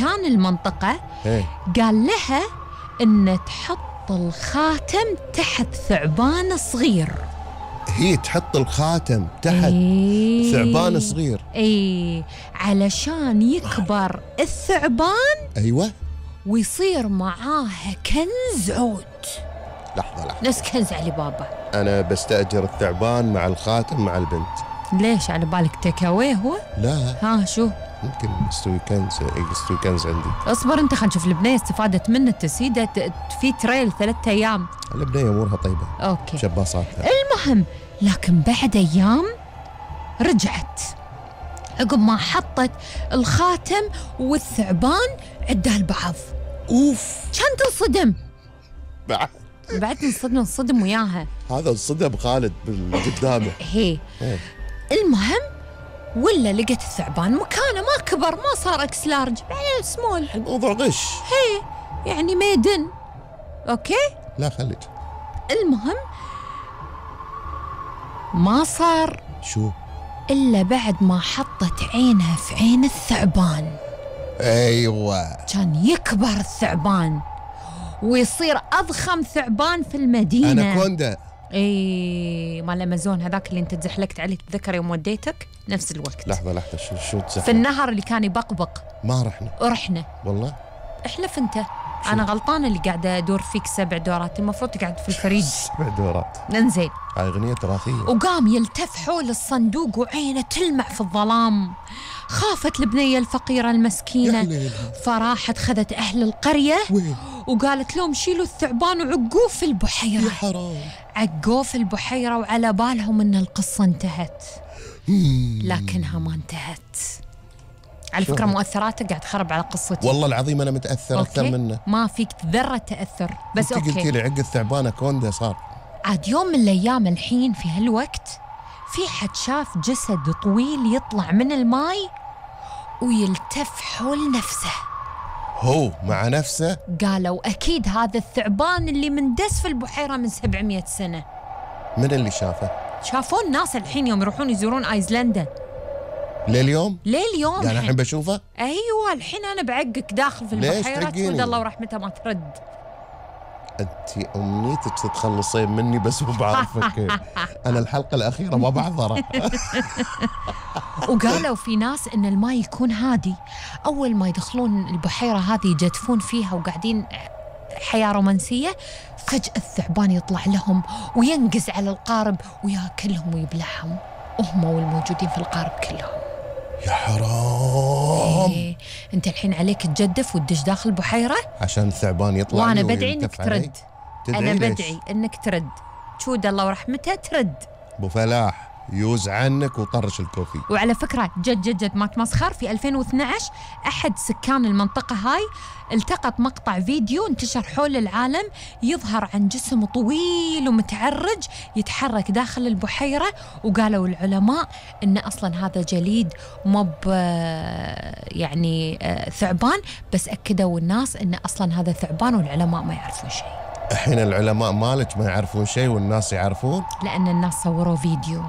سكان المنطقة قال لها إن تحط الخاتم تحت ثعبان صغير. هي تحط الخاتم تحت ثعبان صغير علشان يكبر الثعبان. أيوة، ويصير معاها كنز عود. لحظة نفس كنز علي بابا. أنا بستأجر الثعبان مع الخاتم مع البنت. ليش على بالك تكاوي هو؟ لا. ها شو؟ ممكن يستوي كنز عندي. اصبر انت، خلينا نشوف البنية استفادت منه التسيدة في تريل 3 أيام. البنية أمورها طيبة. أوكي. شباصاتها. المهم، لكن بعد أيام رجعت عقب ما حطت الخاتم والثعبان عدها البعض. أوف. كان تنصدم. بعد نصدم وياها. هذا انصدم خالد بالقدامه. هي. المهم ولا لقت الثعبان مكانه، ما كبر، ما صار اكس لارج، سمول. الموضوع غش. هي يعني ميدن. اوكي. لا خليك. المهم ما صار شو الا بعد ما حطت عينها في عين الثعبان. ايوه، كان يكبر الثعبان ويصير اضخم ثعبان في المدينه. اناكوندا. مال الامازون هذاك اللي انت تزحلقت عليه، تتذكر يوم وديتك نفس الوقت. لحظه شو تزحلق؟ في النهر اللي كان يبقبق. ما رحنا والله. احلف انت. انا غلطانه اللي قاعده ادور فيك 7 دورات، المفروض تقعد في الفريج. 7 دورات. انزين. هاي اغنيه تراثيه. وقام يلتف حول الصندوق وعينه تلمع في الظلام. خافت البنيه الفقيره المسكينه، فراحت خذت اهل القريه وقالت لهم شيلوا الثعبان وعقوه في البحيره. يا حرام. عقوه في البحيره وعلى بالهم ان القصه انتهت. لكنها ما انتهت. على فكرة مؤثراتك قاعد تخرب على قصتي. والله العظيم أنا متأثر أكثر منه. ما فيك ذرة تأثر. بس أوكي. قلتي لي عق الثعبان أكوندا صار. عاد يوم من الأيام الحين في هالوقت في حد شاف جسد طويل يطلع من الماي ويلتف حول نفسه. هو مع نفسه؟ قالوا أكيد هذا الثعبان اللي مندس في البحيرة من 700 سنة. من اللي شافه؟ شافوه الناس الحين يوم يروحون يزورون ايسلندا. لليوم يعني الحين بشوفه. ايوه الحين انا بعقك داخل في البحيره تقول الله ورحمته ما ترد. انت امنيتك تتخلصين مني بس مو بعرفك. انا الحلقه الاخيره ما بعذرها. وقالوا في ناس ان الماء يكون هادي، اول ما يدخلون البحيره هذه يجدفون فيها وقاعدين حياه رومانسيه، فجاه الثعبان يطلع لهم وينقز على القارب وياكلهم ويبلعهم وهم والموجودين في القارب كلهم. يا حرام. إيه. انت الحين عليك تجدف وتدش داخل البحيره عشان الثعبان يطلع. وانا بدعي انك ترد. انا بدعي انك ترد. شود الله ورحمته ترد. ابو فلاح يوز عنك وطرش الكوفي. وعلى فكره جد ما تمسخر، في 2012 احد سكان المنطقه هاي التقط مقطع فيديو انتشر حول العالم يظهر عن جسم طويل ومتعرج يتحرك داخل البحيره، وقالوا العلماء ان اصلا هذا جليد مب يعني ثعبان، بس اكدوا الناس ان اصلا هذا ثعبان والعلماء ما يعرفون شيء. الحين العلماء مالك ما يعرفون شيء والناس يعرفون؟ لان الناس صوروا فيديو.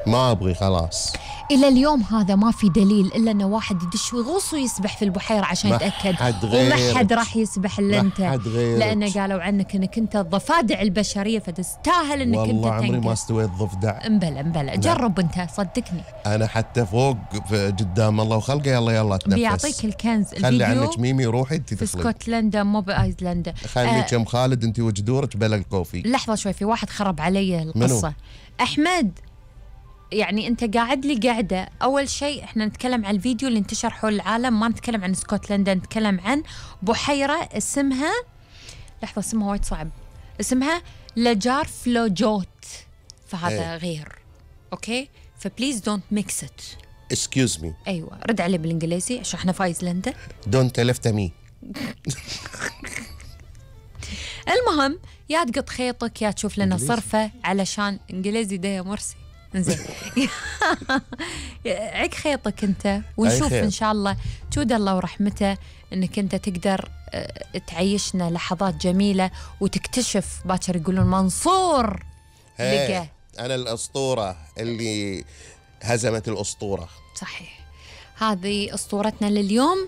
ما أبغي خلاص. إلى اليوم هذا ما في دليل إلا أنه واحد يدش ويغوص ويسبح في البحيرة عشان يتأكد، وما حد راح يسبح إلا أنت، لأنه قالوا عنك أنك أنت الضفادع البشرية فتستاهل أنك أنت والله عمري ما استويت ضفدع. امبلا جرب أنت صدقني. أنا حتى فوق قدام الله وخلقه يلا تنفس. بيعطيك الكنز الفيديو. خلي عنك ميمي روحي أنت في اسكتلندا مو بأيسلندا. خليك ام خالد أنت وجدورك بلا الكوفي. لحظة شوي، في واحد خرب علي القصة. منو؟ أحمد. يعني أنت قاعد لي قاعدة. أول شيء إحنا نتكلم عن الفيديو اللي انتشر حول العالم، ما نتكلم عن اسكتلندا، نتكلم عن بحيرة اسمها، لحظة اسمها وايد صعب، اسمها لجار فلوجوت، فهذا غير. أوكي، فبليز دونت ميكس ات. اسكيوز مي. أيوة رد عليه بالإنجليزي عشان إحنا في أيسلندا. دونت لفت مي. المهم يا تقط خيطك يا تشوف لنا صرفة علشان إنجليزي ده يا مرسي. زين. عق خيطك انت ونشوف ان شاء الله جود الله ورحمته انك انت تقدر تعيشنا لحظات جميله وتكتشف باكر يقولون منصور لقى انا الاسطوره اللي هزمت الاسطوره. صحيح، هذه اسطورتنا لليوم.